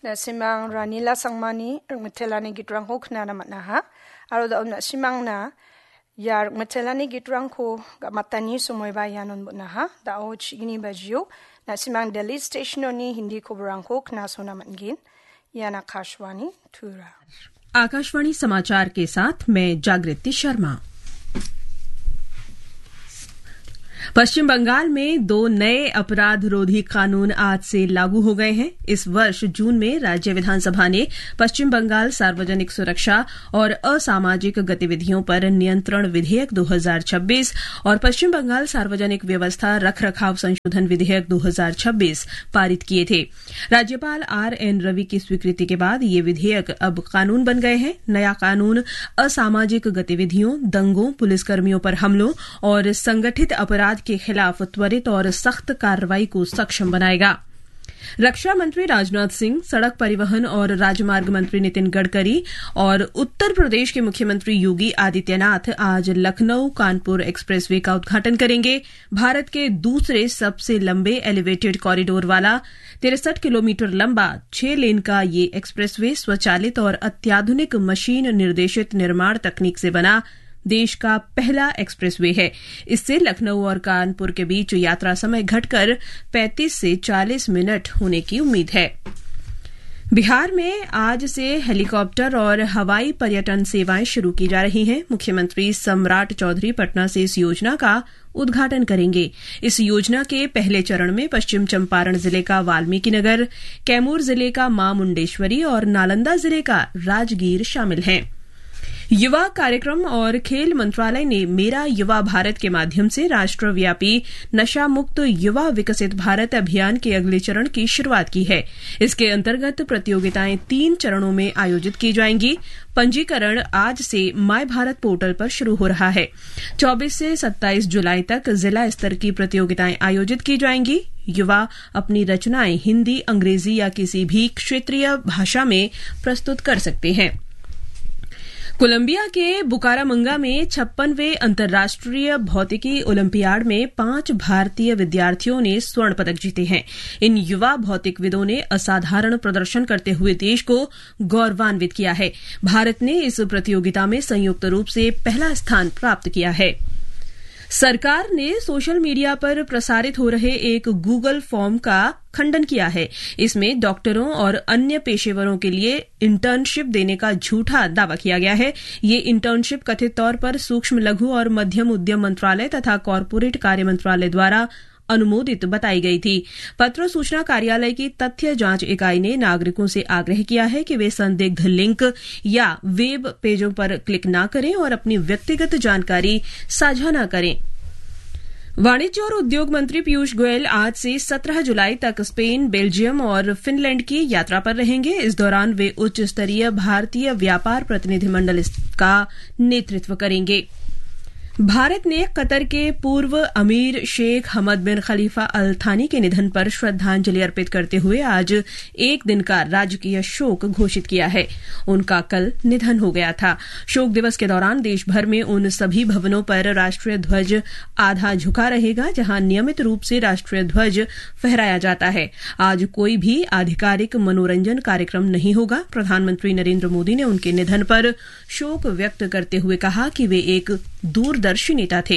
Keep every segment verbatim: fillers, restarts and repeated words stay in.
Na·simang Ranila Sangmani rikmitelani gitrangko knana man·aha. Aro da·o na·simangna ia rikmitelani gitrangko ga·matani somoiba ianon bon·aha. Da·o chigni bajio na·simang Delhi Stationoni Hindi koborangko knasona man·gen. Ian Akashvani Tura. Akashvani समाचार के साथ मैं जागृति शर्मा। पश्चिम बंगाल में दो नए अपराध रोधी कानून आज से लागू हो गए हैं। इस वर्ष जून में राज्य विधानसभा ने पश्चिम बंगाल सार्वजनिक सुरक्षा और असामाजिक गतिविधियों पर नियंत्रण विधेयक दो हज़ार छब्बीस और पश्चिम बंगाल सार्वजनिक व्यवस्था रखरखाव संशोधन विधेयक दो हज़ार छब्बीस पारित किए थे। राज्यपाल आर एन रवि की स्वीकृति के बाद ये विधेयक अब कानून बन गए हैं। नया कानून असामाजिक गतिविधियों, दंगों, पुलिसकर्मियों पर हमलों और संगठित अपराध के खिलाफ त्वरित और सख्त कार्रवाई को सक्षम बनाएगा। रक्षा मंत्री राजनाथ सिंह, सड़क परिवहन और राजमार्ग मंत्री नितिन गडकरी और उत्तर प्रदेश के मुख्यमंत्री योगी आदित्यनाथ आज लखनऊ कानपुर एक्सप्रेसवे का उद्घाटन करेंगे। भारत के दूसरे सबसे लंबे एलिवेटेड कॉरिडोर वाला तिरसठ किलोमीटर लंबा छह लेन का ये एक्सप्रेसवे स्वचालित और अत्याधुनिक मशीन निर्देशित निर्माण तकनीक से बना देश का पहला एक्सप्रेसवे है। इससे लखनऊ और कानपुर के बीच यात्रा समय घटकर पैंतीस से चालीस मिनट होने की उम्मीद है। बिहार में आज से हेलीकॉप्टर और हवाई पर्यटन सेवाएं शुरू की जा रही हैं। मुख्यमंत्री सम्राट चौधरी पटना से इस योजना का उद्घाटन करेंगे। इस योजना के पहले चरण में पश्चिम चंपारण जिले का वाल्मीकि नगर, कैमूर जिले का मां मुंडेश्वरी और नालंदा जिले का राजगीर शामिल हैं। युवा कार्यक्रम और खेल मंत्रालय ने मेरा युवा भारत के माध्यम से राष्ट्रव्यापी नशा मुक्त युवा विकसित भारत अभियान के अगले चरण की शुरुआत की है। इसके अंतर्गत प्रतियोगिताएं तीन चरणों में आयोजित की जाएंगी। पंजीकरण आज से माय भारत पोर्टल पर शुरू हो रहा है। चौबीस से सत्ताईस जुलाई तक जिला स्तर की प्रतियोगिताएं आयोजित की जाएंगी। युवा अपनी रचनाएं हिंदी, अंग्रेजी या किसी भी क्षेत्रीय भाषा में प्रस्तुत कर सकते हैं। कोलंबिया के बुकारामंगा में छप्पनवें अंतर्राष्ट्रीय भौतिकी ओलंपियाड में पांच भारतीय विद्यार्थियों ने स्वर्ण पदक जीते हैं। इन युवा भौतिकविदों ने असाधारण प्रदर्शन करते हुए देश को गौरवान्वित किया है। भारत ने इस प्रतियोगिता में संयुक्त रूप से पहला स्थान प्राप्त किया है। सरकार ने सोशल मीडिया पर प्रसारित हो रहे एक Google फॉर्म का खंडन किया है। इसमें डॉक्टरों और अन्य पेशेवरों के लिए इंटर्नशिप देने का झूठा दावा किया गया है। ये इंटर्नशिप कथित तौर पर सूक्ष्म, लघु और मध्यम उद्यम मंत्रालय तथा कॉरपोरेट कार्य मंत्रालय द्वारा अनुमोदित बताई गई थी। पत्र सूचना कार्यालय की तथ्य जांच इकाई ने नागरिकों से आग्रह किया है कि वे संदिग्ध लिंक या वेब पेजों पर क्लिक ना करें और अपनी व्यक्तिगत जानकारी साझा ना करें। वाणिज्य और उद्योग मंत्री पीयूष गोयल आज से सत्रह जुलाई तक स्पेन, बेल्जियम और फिनलैंड की यात्रा पर रहेंगे। इस दौरान वे उच्च स्तरीय भारतीय व्यापार प्रतिनिधिमंडल इस-, का नेतृत्व करेंगे। भारत ने कतर के पूर्व अमीर शेख हमद बिन खलीफा अल थानी के निधन पर श्रद्धांजलि अर्पित करते हुए आज एक दिन का राजकीय शोक घोषित किया है। उनका कल निधन हो गया था। शोक दिवस के दौरान देश भर में उन सभी भवनों पर राष्ट्रीय ध्वज आधा झुका रहेगा, जहां नियमित रूप से राष्ट्रीय ध्वज फहराया जाता है। आज कोई भी आधिकारिक मनोरंजन कार्यक्रम नहीं होगा। प्रधानमंत्री नरेंद्र मोदी ने उनके निधन पर शोक व्यक्त करते हुए कहा कि वे एक दूरदर्शी नेता थे।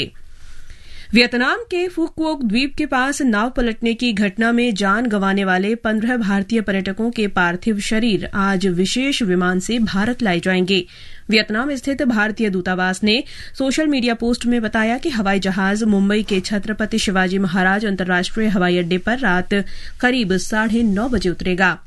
वियतनाम के फुक्वोक द्वीप के पास नाव पलटने की घटना में जान गंवाने वाले पन्द्रह भारतीय पर्यटकों के पार्थिव शरीर आज विशेष विमान से भारत लाए जाएंगे। वियतनाम स्थित भारतीय दूतावास ने सोशल मीडिया पोस्ट में बताया कि हवाई जहाज मुंबई के छत्रपति शिवाजी महाराज अंतर्राष्ट्रीय हवाई अड्डे पर रात करीब साढ़े नौ बजे उतरेगा।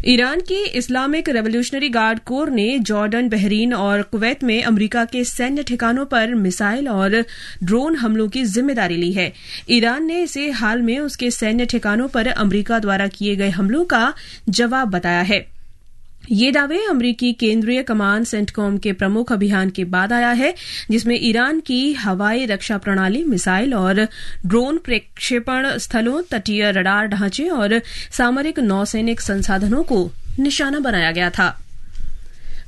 ईरान की इस्लामिक रेवोल्यूशनरी गार्ड कोर ने जॉर्डन, बहरीन और कुवैत में अमेरिका के सैन्य ठिकानों पर मिसाइल और ड्रोन हमलों की जिम्मेदारी ली है। ईरान ने इसे हाल में उसके सैन्य ठिकानों पर अमेरिका द्वारा किए गए हमलों का जवाब बताया है। ये दावे अमेरिकी केंद्रीय कमांड सेंटकॉम के प्रमुख अभियान के बाद आया है, जिसमें ईरान की हवाई रक्षा प्रणाली, मिसाइल और ड्रोन प्रक्षेपण स्थलों, तटीय रडार ढांचे और सामरिक नौसैनिक संसाधनों को निशाना बनाया गया था।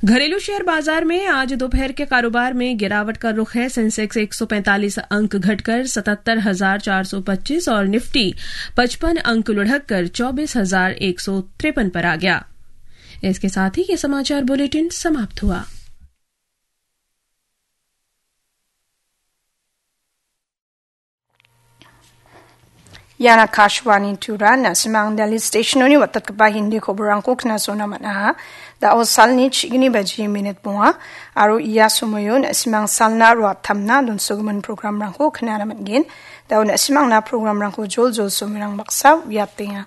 घरेलू शेयर बाजार में आज दोपहर के कारोबार में गिरावट का रुख है। सेंसेक्स एक सौ पैंतालीस अंक घटकर सतहत्तर हजार चार सौ पच्चीस और निफ्टी पचपन अंक लुढ़ककर चौबीस हजार एक सौ तिरपन पर आ गया। इसके साथ ही ये समाचार बुलेटिन समाप्त हुआ। Ian Akashvani Tura, na·simang Delhi station-oni watatgipa Hindi koborangko knasona man·aha. Da·o salni chigni baji minit bonga, aro ia somoio na·simang salna ruatamna donsogimin programrangko knana man·gen. Da·o na·simangna programrangko joljol somoirang baksa uiatenga.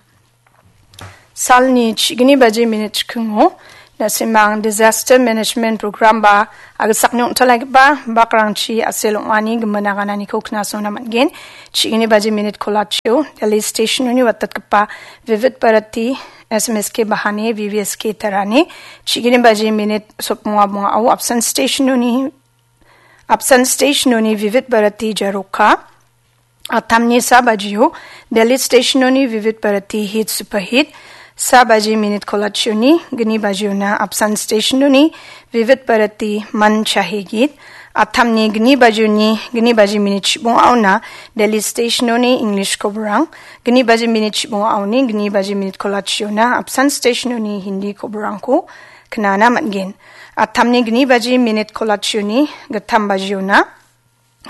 Salni chigni baji minit chikingo, na·simang Disaster Management Program ba agisakni ong·talaigipa bakrangchi asel ong·ani gimin agananiko knasona man·gen. Chigni baji minit kolachio, Delhi station-oni watatgipa Vivid Bharati, S M S K Bahani, V V S K Tarani, chigni baji minit sotbonga bongao Apsan station-oni, Apsan station-oni Vivid Bharati Jaroka, Atamni sa bajio Delhi station-oni Vivid Bharati Hit Super Hit, sa baji minit kolachioni gni bajiona Apsan station-oni Vivid Bharati Man Chahe Git, atamni gni bajioni gni baji minit chibongaona Delhi station-oni English koborang, gni baji minit chibongaoni gni baji minit kolachiona Apsan station-oni Hindi koborangko knana man·gen. Atamni gni baji minit kolachioni gittam bajiona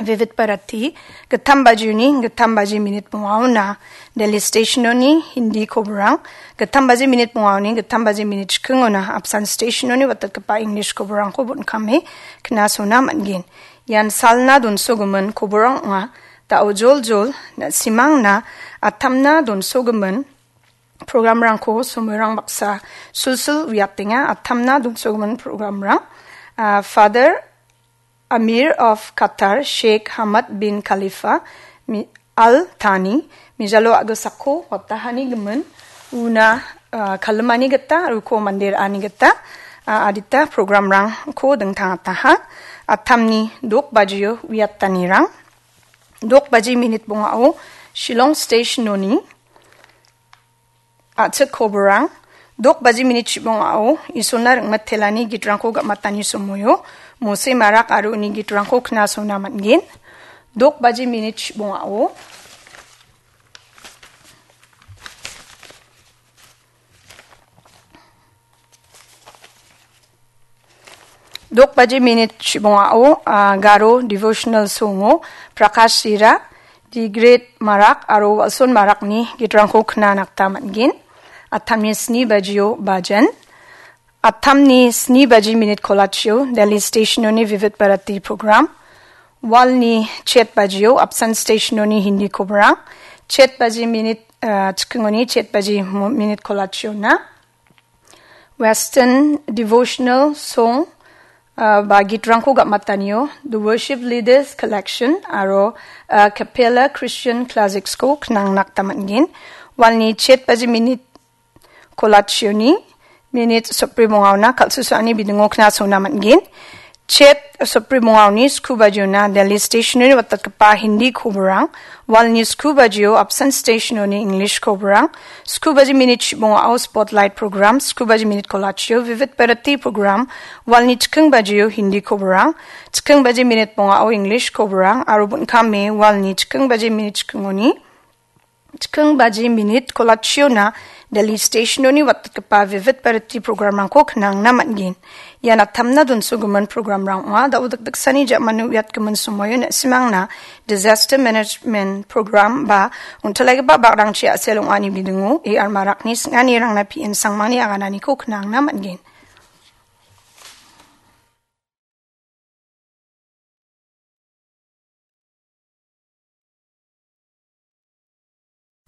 Vivid Bharati, gittam bajioni, gittam baji minit bongaona, Delhi station-oni Hindi koborang, gittam baji minit bongaoni, gittam baji minit chikingona, Apsan station-oni watatgipa English koborangko bon·kame knasona man·gen. Ian salna donsogimin koborang ong·a, da·o joljol, na·simangna, atamna donsogimin, programrangko somoirang baksa sulsul uiatenga, atamna donsogimin programrang. Ah, Father Amir of Qatar, Sheikh Hamad bin Khalifa Mi-, Al Thani, mijalo a·gisako watahani gimin una, ah, kalimani gita, ruko mande ra·ani gita, ah, adita programrangko dingtangataha. Atamni dok bajio uiatanirang. Dok baji minit bongao Shillong station-oni A·chik koborang, dok baji minit chibongao Isolna ringmitelani gitrangko ga·matani somoio, Mose Marak aro uni gitrangko knasona man·gen. Dok baji minit chibongao, dok baji minit chibongao, ah, Garo devotional songo Prakash Sira, Digret Marak aro Walson Marakni gitrangko knana gita man·gen. Atamni sni bajio bajan. Atamni sni baji minit kolachio Delhi station-oni Vivid Bharati program. Walni chet bajio Apsan station-oni Hindi koborang. Chet baji minit, ah, chikingoni chet baji mo-, minit kolachiona. Western devotional song, ah, ba gitrangko ga·matanio, The Worship Leaders Collection aro, ah, Capella Christian Classics-ko knangna gita man·gen. Walni chet baji minit kolachioni, minit sotbri bongaona kal·susuani bidingo knasona man·gen. Chet sotbri bongaoni sku bajiona Delhi station-oni watatgipa Hindi koborang, walni sku bajio Apsan station-oni English koborang, sku baji minit chibongao Spotlight program, sku baji minit kolachio Vivid Bharati program, walni chiking bajio Hindi koborang, chiking baji minit bongao English koborang, aro bon·kame walni chiking baji minit chikingoni chiking baji minit kolachiona Delhi station-oni watatgipa Vivid Bharati programrangko knangna man·gen. Ian atamna donsogimin programrang ong·a. Da·o dikdiksani ja·mano uiatgimin somoio na·simangna Disaster Management Program ba ong·talaigipa bakrangchi a·sel ong·ani bidingo A R Marakni sing·anirangna P N Sangmangni agananiko knangna man·gen.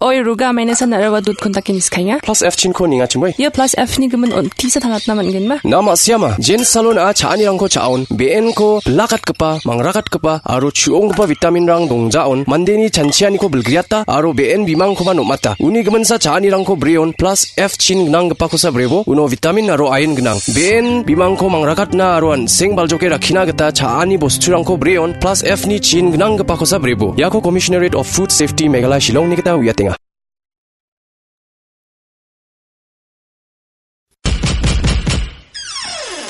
Oi, Ruga, maina san nara wa dut kontak in iskainga. Plus F chin ko ninga chimoi. Ia plus F ni gimin on tisa tangatna man gen ma. Na ma siama. Jen salon a cha·anirangko cha·on. B N ko bilakatgipa, mangrakatgipa, aro chu·onggipa vitamin rang dongjaon. Mandeni chanchianiko bilgriata, aro B N bimangkoba nomata. Uni giminsa cha·anirangko breon. Plus F chin gnanggipakosa brebo, uno vitamin aro iron gnang. B N bimangko mangrakatna aro an·seng baljoke rakkina gita cha·ani bosturangko breon, plus F ni chin gnanggipakosa brebo. Iako Commissionerate of Food Safety Meghalaya Shillongni gita uiatenga.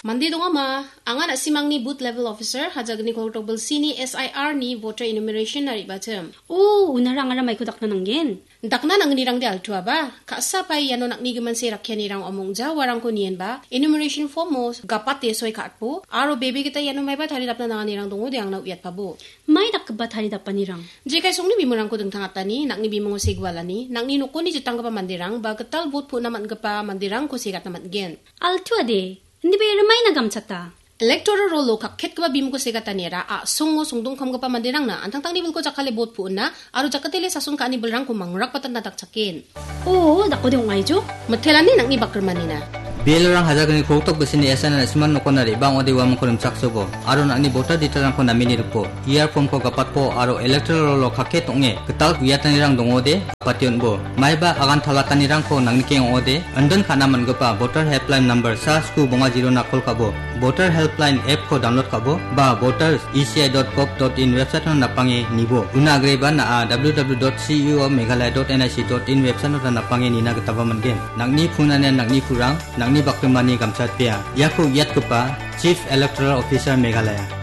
Mande dongama, anga na·simangni booth level officer, Hajagni kolgrikdok bilsini S I R ni voter enumeration-na re·batim. O, unara angara maiko dakna nanggen. Dakna nangnirangde altuaba, ka·sa pae iano nang·ni gimin se rakkianirang ong·ja uarangko nienba, enumeration form-o gapate soi ka·atbo, aro bebe gita iano maiba taridapna nanganirang dongode angna uiatpabo. Mai dakgipa taridapanirang? Jekai songni bimungko dingtangatani, nang·ni bimungo segualani, nang·ni nokoni jitanggipa manderang, ba gital vote pu·na man·gipa manderangko segatna man·gen. Altuade, indiba iara maina gamchata? Electoral roll-o kakketgipa bimungko segataniara a·songo songdongkamgipa manderangna antangtangni bilko jakkale vote pu·na aro jakatele sason ka·ani bilrangko mangrakbatanna dakchaken. O, dakode ong·aijo? Mitelani nang·ni bakrimanina. B L O-rang Hajagni kolgrikdok bisini S I R na·siman nokona re·bang ong·ode uamangko rimchaksobo, aro nang·ni voter detail-rangko namini ripo, E R form-ko gapatpo, aro electoral roll-o kakket ong·e gital uiatanirang dongode, gapate on·bo. Maiba agan talatanirangko nangnikeng ong·ode, indon ka·na man·gipa voter helpline number sa sku bonga zero-na call ka·bo, voter helpline app-ko download ka·bo, ba voters E C I dot gov dot in website-o napange nibo. Una agreba na·a W W W dot C E O Meghalaya dot N I C dot in website-o napange nina gitaba man·gen. Nang·ni phone-ani nang·ni kurang, nang·ni bakrimani gamchatpea. Iako uiatgipa Chief Electoral Officer Meghalaya.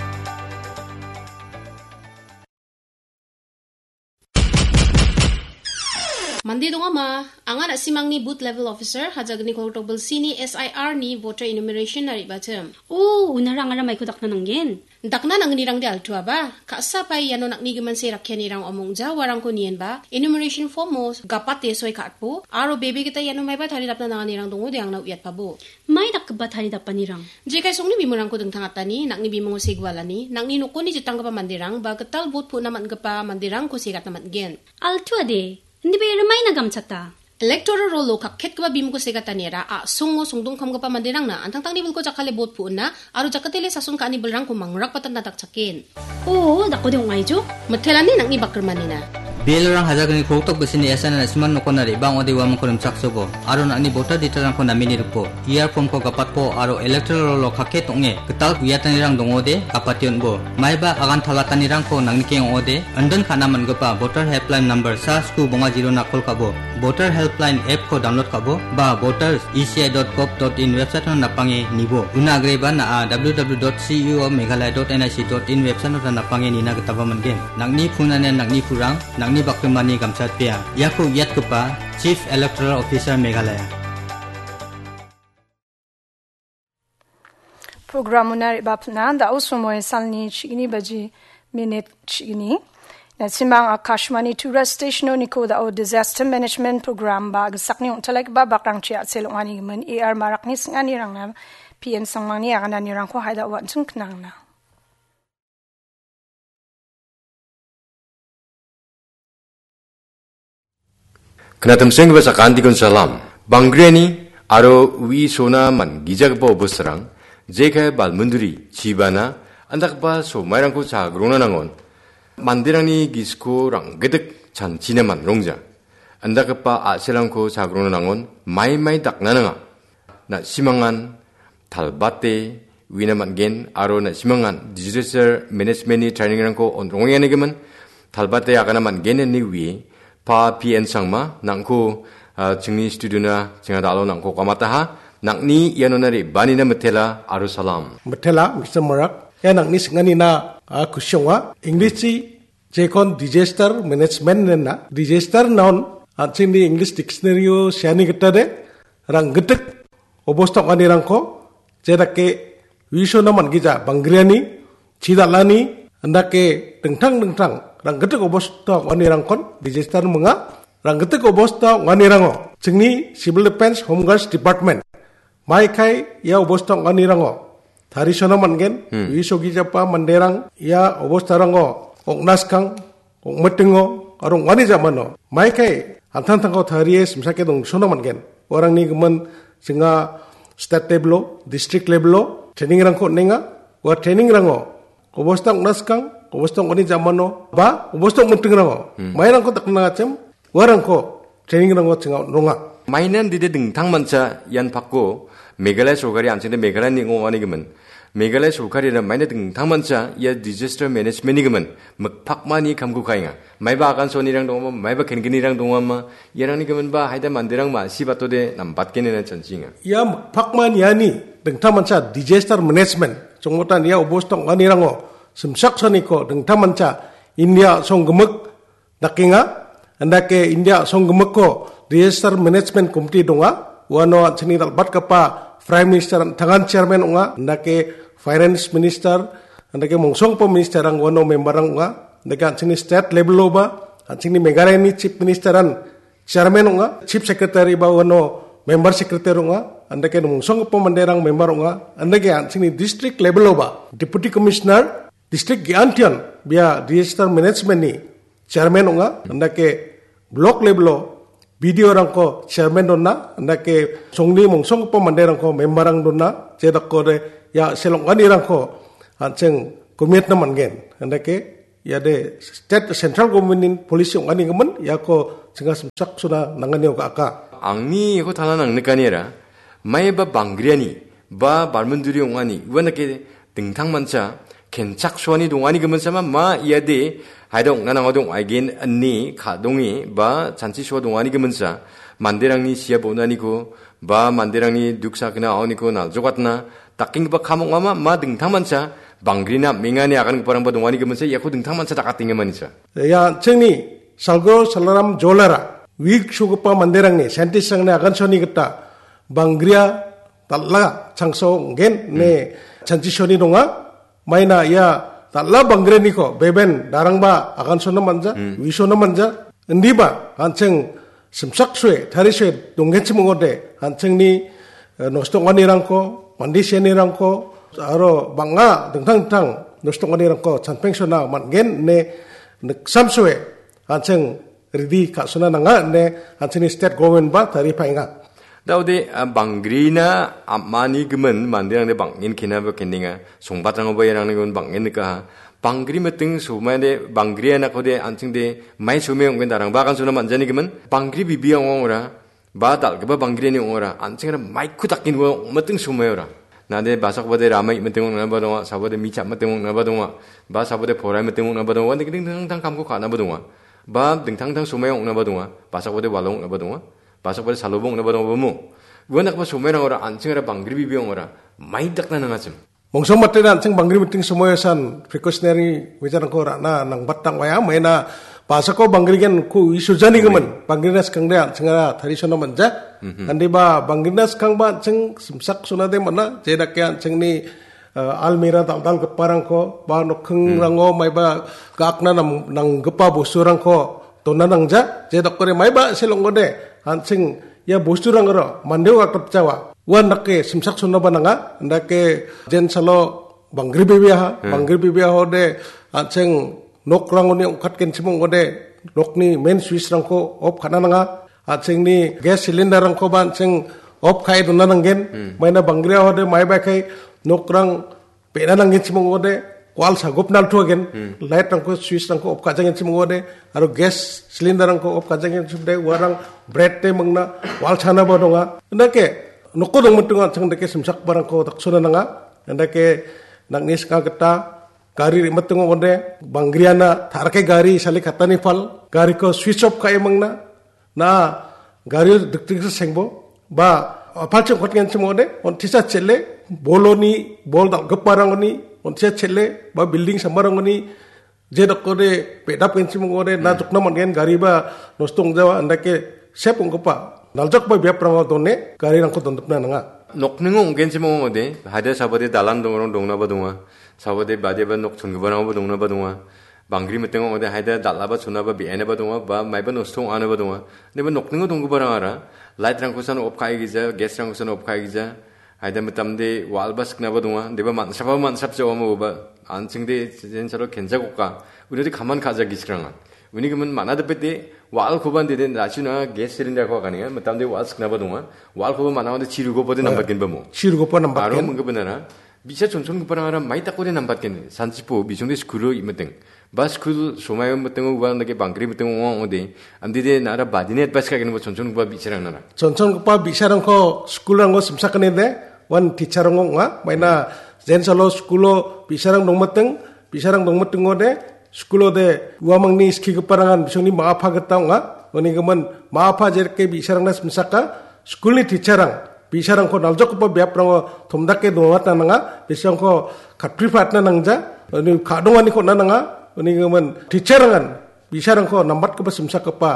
Mande dongama, anga na·simangni booth level officer, Hajagni kolgrikdok bilsini S I R ni voter enumeration-na re·batim. O, unara angara maiko dakna nanggen. Dakna nangnirangde altuaba, ka·sa pae iano nang·ni gimin se rakkianirang ong·ja uarangko nienba, enumeration form-o gapate soi ka·atbo, aro bebe gita iano maiba taridapna nanganirang dongode angna uiatpabo. Mai dakgipa taridapanirang? Jekai songni bimungko dingtangatani, nang·ni bimungo segualani, nang·ni nokoni jitanggipa manderang, ba gital vote pu·na man·gipa manderangko segatna man·gen. Altuade, indiba iara maina gamchata? Electoral roll-o kakketgipa bimungko segataniara a·songo songdongkamgipa manderangna antangtangni bilko jakkale vote pu·na aro jakatele sason ka·ani bilrangko mangrakbatanna dakchaken. O, dakode ong·aijo? Mitelani nang·ni bakrimanina. B L O-rang Hajagni kolgrikdok bisini S I R na·siman nokona re·bang ong·ode uamangko rimchaksobo, aro nang·ni voter detail-rangko namini ripo, E R form-ko gapatpo, aro electoral roll-o kakket ong·e gital uiatanirang dongode, gapate on·bo. Maiba agan talatanirangko nangnikeng ong·ode, indon ka·na man·gipa voter helpline number sa sku bonga zero-na call ka·bo, voter helpline app-ko download ka·bo, ba voters E C I dot gov dot in website-o napange nibo. Una agreba na·a W W W dot C E O Meghalaya dot N I C dot in website-o napange nina gitaba man·gen. Nang·ni phone-ani nang·ni kurang, nang·ni bakrimani gamchatpea. Iako uiatgipa Chief Electoral Officer Meghalaya. Program-ona re·bapna da·o somoi salni chigni baji minit chigni. Na·simang Akashvani Tura Station-oniko da·o Disaster Management Program ba gisakni ong·talaigipa bakrangchi a·sel ong·ani gimin A R Marakni sing·anirangna P N Sangmangni agananirangko haida uan·ching knangna. Knatimsenggipa sakantikon salam. Banggriani aro ui sona man gijagipa obostarang, jekai balmunduri, chibana, andakgipa somairangko chagrongna nangon. Manderangni gisiko ranggitik chanchina manrongja. Andakgipa a·selrangko chagrongna nangon, maimai dakna nanga. Na·simangan talbate uina man·gen aro na·simangan disaster management-ni training-rangko on-, rongenganigimin talbate agana man·gen ine ue pa P N Sangma nangko, ah, chingni studio-na chinga dalo nangko kamataha. Nangni ianona re·banina mitela aro salam. Mitela, Mister Marak. Ia nangni singanina, ah, kusi ong·a. English-chi jekon disaster management nena. Disaster noun, an·chingni English dictionary-o seani gita de, ranggitik obosta ong·anirangko, jedake uisona man·gija, banggriani, chidal·ani, andake dingtang dingtang ranggitik obosta ong·anirangkon disaster minga. Ranggitik obosta ong·anirango, chingni Civil Defence Home Guards Department, maikai ia obosta ong·anirango, tarisona man·gen, Hmm. uisogijapa manderang ia obostarango ong·naskang, ong·mitingo, aro ong·ani jamano, maikai an·tangtangko tarie simsake dongsona man·gen. Uarangni gimin singa state level-o, district level-o training-rangko on·enga. Ua training-rango obosta ong·naskang, obosta ong·ani jamano, ba obosta ong·mitingrango, Hmm. mairangko dakna nangachim, uarangko training-rango chinga on·ronga. Mainan dide dingtang mancha ian pako Meghalaya sorkari an·chingde Meghalaya ning·o ong·ani gimin. Meghalaya sorkari maina dingtang mancha ia disaster management-ni gimin. Mikpakmani kamko ka·enga. Maiba agan sonirang dongama, maiba kengenirang dongama, iarangni giminba haida manderang ma·si batode nambatgenena chanchinga. Ia mikpakmaniani dingtangmancha disaster management, chongmotan ia obosta ong·anirango simsaksaniko dingtangmancha India songgimik dakenga. Andake India songgimikko disaster management committee donga. Uano an·chingni dal·batgipa Prime Minister an·tangan chairman ong·a. Andake Finance Minister, andake mongsonggipa ministerrang uano memberrang ong·a. Andake an·chingni state level-oba, an·chingni Meghalayani Chief Minister an chairman ong·a, chief secretary ba uano member secretary ong·a, andake mongsonggipa manderang member ong·a, andake an·chingni district level-oba deputy commissioner, district ge·antian bia disaster management-ni chairman ong·a, andake block level-o B D O-rangko chairman dona, andake songni mongsonggipa manderangko memberrang dona, jedakode ia selong·anirangko an·ching komitna man·gen, andake iade state central government-ni policy ong·anigimin iako chinga simchaksona nanganio ga·aka. Angni iako tala nangnikaniara, maiba banggriani ba barminduri ong·ani uanake dingtangmancha kenchaksoani donganigimin sama ma iade haida ong·na nangode ong·aigen ine ka·donge ba chanchisoa donganigiminsa manderangni sia bonaniko ba manderangni duk sakgna aoniko naljokatna dakenggipa kam ong·ama ma dingtangmancha bangrina am·engani agangiparangba donganigiminsa iako dingtangmancha dakatengimanisa. Ia an·chingni Salgo Salaram Jolara wig sugipa manderangni scientist-rangni agansoani gita bangria dal·a changso ong·gen ine chanchisoani donga. Maina ia dal·a bangrianiko beben darangba agansona manja, wisona manja. Indiba an·ching simsaksue, tarisue donggenchim ong·ode, an·chingni, eh, nosto ong·anirangko, mande sianirangko, aro bang·a dingtang dingtang nosto ong·anirangko chanpengsona man·gen ine niksamsoe an·ching ridi ka·sona nanga ine an·chingni state government ba taripaenga. Daode, ah, bangrina am·ani gimin manderangde bang·en kenaba kendenga. Songbatrangoba iarangni gimin bang·en nikaha. Bangri miting somaide bangri anakode an·chingde mai some ong·gen darangba agansona man·jani gimin. Bangri bibi ong·ora. Ba dal·gipa banggriani ong·ora, an·chingara maiko dakenua ong·miting somaeora. Nade basakbade ramai miting ong·naba donga, sabade micha miting ong·naba donga, ba sabade porai miting ong·naba donga, uan dingtang dingtang kamko ka·naba donga. Ba dingtang dingtang somai ong·naba donga, basakbade walo ong·naba donga, basakbade salobo ong·naba donga, bamo. Uan dakgipa somairangora an·chingara banggri bibi ong·ora, mai dakna nangachim. Mongsong matena an·ching banggri miting somoiosan precautionary measure-rangko ra·na nangbatang oia, maina basako banggrigenko uisujanigimin, bangrina skangde an·chingara tarisona manja. Andiba bangrina skangba an·ching simsak sonade man·a, jedake an·chingni, eh, almira dal·dalgiparangko, ba nokkingrango maiba ga·akna nam-, nanggipa bosturangko dona nangja, jedakore maiba selongode, an·ching ia bosturangara mandeo gatgipjawa. Uan dake simsaksonaba nanga, indake jensalo banggri bebeaha, banggri bebeahode an·ching nokrangoni ong·katgenchim ong·ode, nokni main switch-rangko off ka·na nanga, an·chingni gas cylinder-rangkoba an·ching off ka·e dona nanggen, maina banggriahode maiba kai nokrang be·na nanggenchim ong·ode, wall sagopna naltuagen, light-rangko, switch-rangko off ka·jangenchim ong·ode, aro gas cylinder-rangko off ka·jangenchim ong·ode, uarang bread-de mangna wall chanaba donga. Indake, noko dongmitingo an·ching dake simsakbarangko daksona nanga. Indake, nangni sika gita gari re·mitingo ong·ode, banggriana tarake gari sale katani pal, gariko switch off ka·e mangna, na gario dikdiksa sengbo, ba, a, palchi ong·katgenchim ong·ode, on·tisa chel·e, boloni, bol dal·giparangoni, on·tisa chel·e, ba, building sambarangoni, jedakode, be·dapgenchim ong·ode, na jokna man·gen gari ba, nosto ong·jawa, andake, sep ong·gipa, naljakba biaprango done, garirangko dondipna nanga. Nokningo ong·genchim ong·ode, haida sabade dalan dongrang dongnaba donga, sabade badeba nok chongiparangba dongnaba donga. Banggri mitingo ong·ode haida dal·aba chonaba be·ainaba donga, ba maiba nosto ong·anaba donga. Deba nokningo donggiparangara light-rangkosan off ka·e gija, gas-rangkosan off ka·e gija. Haida mitamde wall-ba siknaba donga. Deba man·srapaba man·srapjawa moba. An·chingde jensalo kenjakoka. Unode kaman ka·ja giskranga. Uni gimin man·a dipete wall-koba dede dachuna gas cylinder-ko aganenga. Mitamde wall siknaba donga. Wall-koba man·a ode chirugopode nambatgenba mo. Chirugopa nambatgen. Aro minggipa nara. Bi·sa chonchongiparangara mai dakode nambatgen, sanchipo bisongde skulo i·miting. Ba skul somaio mitingo uan dake banggri mitingo ong·a ong·ode, andide nara badini advice ka·genba chonchongipa bi·sarangnara. Chonchongipa bi·sarangko skulrango simsakanide, uan teacher-rang ong·a, maina jensalo skulo bi·sarang dongmiting, bi·sarang dongmitingode, skulode uamangni skigiparangan bisongni ma·a pa gita ong·a, uni gimin ma·a pa jerke bi·sarangna simsaka, skulni teacher-rang, Bi·sarangko naljokgipa biaprango tomdake dongatna nanga, bi·sarangko katpripatna nangja, uni ka·donganiko on·na nanga, uni gimin teacher-rangan bi·sarangko nambatgipa simsakgipa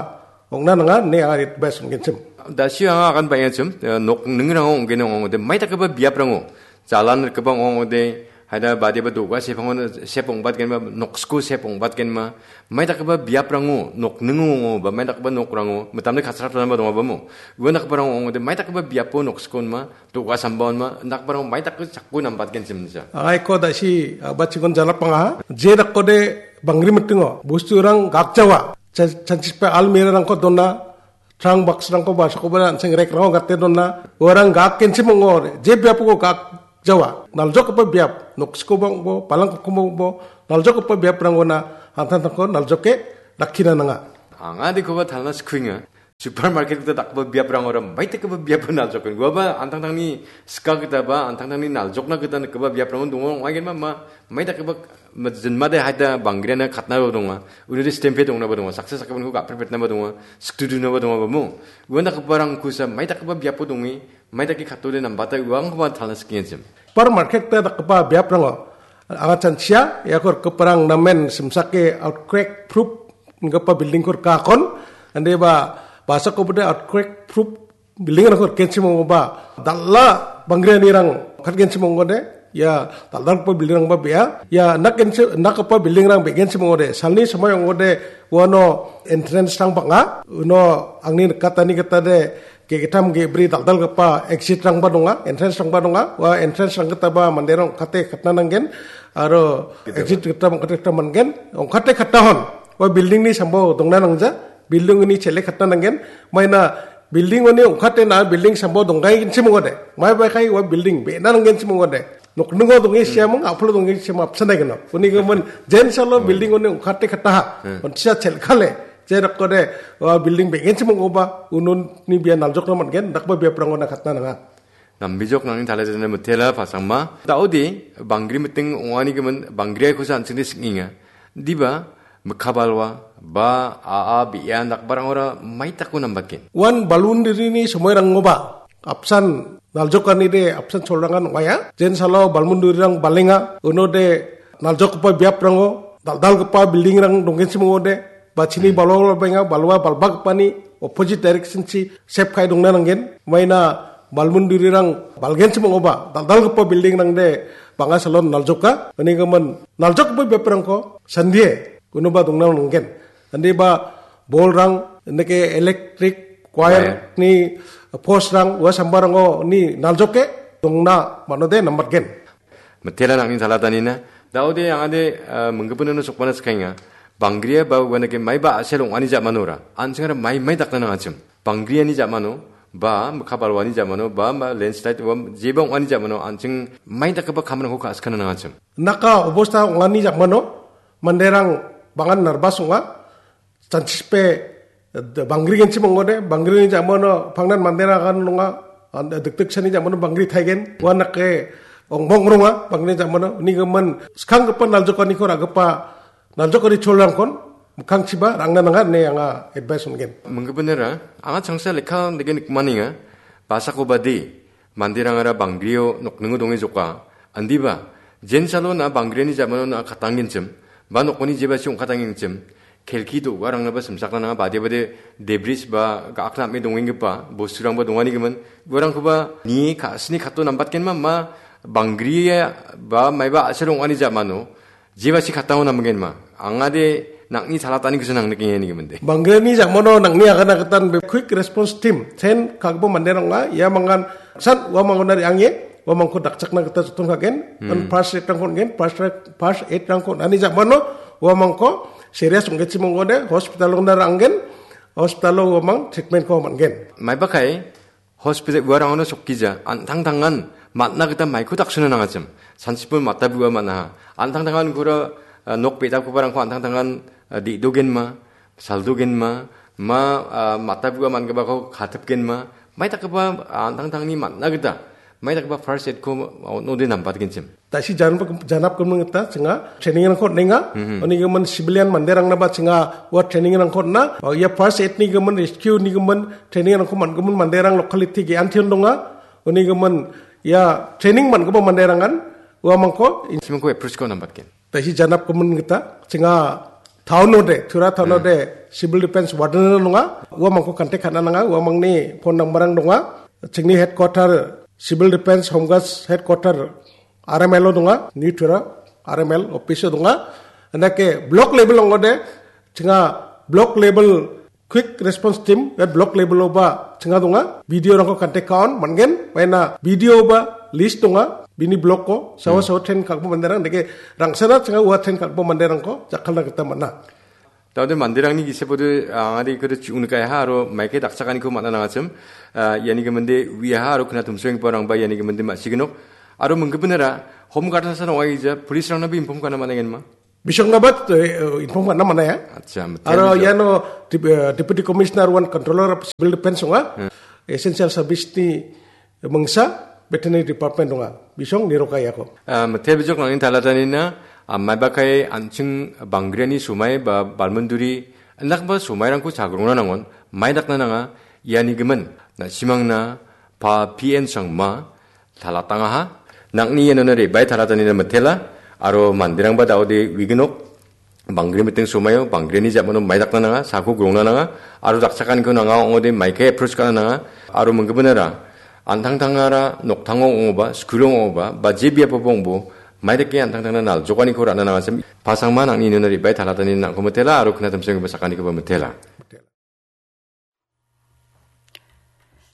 ong·na nanga ine anga advice on·genchim. Da·sio anga agan bang·achim, eh, nokningrango ong·gena ong·ode, maidakgipa biaprango, jalan rikgipa ong·ode, haida badiaba do·ga sepango sep ong·batgenma, noksko sep ong·batgenma, maidakgipa biaprango, nokningo ong·o, ba maidakgipa nokrango, mitamde kasraptanaba dongabamo. Uandakgiparang ong·ode, maidakgipa biapo noksko onma, do·ga samba onma, indakgiparang maidake jako nambatgenchim inja. Aiko da·si, ah, bachikon jalapanga. Je dakode bangri mitingo, bosturang gakjawa. Chan-, chanchipe almirah-rangko dona, trunk box-rangko ba sakoba an·seng rek-rango gate dona. Uarang gakgenchim ong·ode, je biapo gakjawa. Naljokgipa biap, noksikoba ong·bo, palangkokoba ong·bo, naljokgipa biaprangona an·tangtangko naljoke rakkina nanga. Anga dikoba talna skuenga. Supermarket gita dakgipa biaprangora maidakgipa biapo naljoken. Uaba an·tangtangni sika gita ba, an·tangtangni naljokna gita nikgipa biaprango donga ong·aigenma, ma, maidakgipa, ma, jinmade haida bangriana katnaba donga. Unode stempe dongnaba donga. Saksa sakgipinko gapretpetnaba donga. Sikdudunaba donga bamo. Uandakgiparangkosa maidakgipa biapo donge, maidake katode nambata uangkoba talna sikengenchim. Supermarket gita dakgipa biaprango anga chanchia, iako rikgiparang namen simsake earthquake proof inggipa building-ko rikakon, ande ba, basako bode earthquake proof building-rangko rikenchim ong·oba, dal·a bangrianirang katgenchim ong·ode, ia dal·dalgipa building-rangba be·a, ia nakgenchi-, nakgipa building-rang be·genchim ong·ode, salni somoi ong·ode, uano entrance-rang bang·a, uno angni nikatani gitade ge·gittam ge·bri dal·dalgipa exit-rangba donga, entrance-rangba donga, ua entrance-rang gitaba manderang ong·kate katna nanggen, aro Gitaba. Exit gitaba ong·kate katna man·gen, ong·kate katahon, ua building-ni sambao dongna nangja, building-oni chele katna nanggen, maina building-oni ong·katena building sambao donggenchim ong·ode, maiba kai ua building be·na nanggenchim ong·ode, nokningo donge siamung, a·palo donge siamung apsan dai geno. Uni gimin jensalo building-oni ong·kate kataha. Hmm. Onchisa chelkale. Je dakode, ua building be·genchim ong·oba, unoni bia naljokna man·gen, dakba biaprangona katna nanga. Nambijok nangni talajana mitela pasangma. Daode, bangri miting ong·ani gimin, bangriaikosa an·chingde sing·enga. Diba, mikka balwa, ba, a·a, be·a, dakbarangora maitako nambatgen. Uan balun dirini somoirangoba, apsan naljokanide apsan cholrangan ong·aia. Jensalo balmun durirang balenga, unode naljokgipa biaprango, dal·dalgipa building-rang donggenchim ong·ode, bachini balwa balbenga, balwa balbagipani opposite direction-chi sep ka·e dongna nanggen. Maina balmun durirang balgenchim ong·oba, dal·dalgipa building-rangde bang·a salon naljoka. Uni gimin naljokgipa biaprangko sandie, unoba dongna nanggen. Ande ba bolrang, indake electric wire-ni post-rang, ua sambarango ni naljoke dongna manode nambatgen. Mitela nangni talatanina. Daode angade, ah, minggipinano sokbana sikaenga. Bangria ba uanake maiba a·sel ong·ani jamanora. An·chingara mai mai dakna nangachim. Bangriani jamano, ba mikka balwani jamano, ba, ba landslide, ba jeba ong·ani jamano, an·ching mai dakgipa kamrangko ka·sikana nangachim. Naka obosta ong·ani jamano, manderang bangan narbas ong·a. Chanchipe, eh, bangrigenchim ong·ode, bangrini jamano pangnan manderang agan nonga, an-, dikdiksani jamano bangri taigen, ua nake ongbong ronga, bangrini jamano, uni gimin skanggipa naljokaniko ra·gipa, naljokani cholrangkon, mikkangchiba rangna nanga ine anga advice on·gen. Minggipinara, anga changsa lekka dege nikmanenga, basako bade, manderangara bangrio nokningo donge joka. Andiba, jensalo na bangriani jamano na katanggenchim, ba nokoni jebasi ong·katanggenchim, kelki do·garangnaba simsakna nanga bade bade debris ba ga·akna ame dongenggipa bosturangba donganigimin, uarangkoba nie ka-, sini kato nambatgenma, ma bangria ba maiba a·sel ong·ani jamano, jebasi kattango namgenma. Angade nang·ni salatani gisin nang nikengeni gemende. Banggreni jamano nang·ni agana gitan be quick response team. Sen kagbo manderang ong·a, ia mangan san ua mangona re·ange, ua mangko dakchakna gita joton kagen. Hmm. An first aid rangko on·gen, first aid, first aid rangko on·ani jamano ua mangko serious ong·genchim ong·ode, hospital ongna ra·angen, hospitalo ua mang treatment ko man·gen. Maiba kai, hospital uarangona sokgija, an·tangtangan man·na gita maiko daksona nangachim. Sansipon mata bua man·aha. An·tangtangan gura, ah, nok be·dapgiparangko an·tangtangan, ah, de·dogenma, saldogenma, ma, ah, mata bua man·gipako katipgenma, mai dakgipa, ah, an·tangtangni man·na gita, mai dakgipa first aid-ko on·ode nambatgenchim. Tasi janap-, janap gimin gita chinga training rangko on·enga. Mhm. Oni gimin civilian manderangna ba chinga ua training rangko on·a. O, ia first aid ni gimin, rescue ni gimin training rangko man-, gimin manderang locality ge antion donga. Uni gimin ia training man·gipa manderangan uamangko in- Simangko approach ko nambatgen. Tasi janap gimin kita, chinga town ode, Tura town ode, civil defense warden donga, uamangko contact ka·na nanga, uamangni phone number ang donga, chingni headquarter, civil defense, home guards headquarter, R M L o donga, New Tura, R M L office o donga, andake block level ong ode, chinga block level quick response team, eh, block level o ba chinga donga, B D O rangko contact ka·on, man·gen, maina B D O ba list donga, bini block ko, sawa sawa train ka·gipa manderang, deke rangsana chinga ua train ka·gipa manderangko jakkalna gita man·a. Taude manderangni gisepode, ah, angade ikode chi·ung nikaiha, aro maike dakchakaniko man·a nangachim, ah, iani giminde uiaha, aro kna tumsoenggiparangba iani giminde ma·siginok, aro minggiminara home guard-sa ong·aija, police-rangnabe inform ka·na man·engenma? Bisong nabat, eh, inform ka·na man·a ya. Acha, betul, aro betul. Iano dep-, eh, Deputy Commissioner wan Controller of Civil Defense ong·a. Hmm. Essential service ni mingsa veterinary department ong·a. Bisong niroka iako. Ah, mite bijok nangni talatanina, ah, maibakai an·ching Banggriani somai ba balmunduri, indakba somairangko chagrongna nangon, maidakna nanga, iani gimin, na·simangna, pa P N sangma, talatangaha. Nangni ianona re·bae talatanina mitela, aro manderangba daode uiginok, Banggri miting somaio, Banggriani jamano maidakna nanga, sako grongna nanga, aro dakchakaniko nanga ong·ode maike approach ka·na nanga, aro minggiminara, an·tangtangara noktango ong·oba, skulo ong·oba, ba je biapoba ong·bo, maidake an·tangtangna naljokaniko ra·na nangachim, pasangma nangni ianona re·bae talatani nangko mitela, aro kna tumsoenggipa sakanikoba mitela.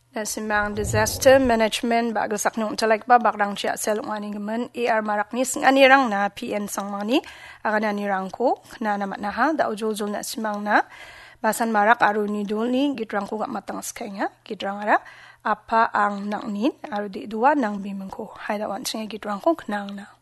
Na·simang Disaster Management ba·gisakni ong·talaigipa bakrangchi a·sel ong·anigimin A R Marakni sing·anirangna P N sangmangni agananirangko knana man·aha. Da·o joljol na·simangna Basan Marak aro uni dolni gitrangko gam·atang skaenga. Gitrangara Apa Ang Nangnin aro De·doa Nangbimingko. Hai da·o an·ching ia gitrangko knangna.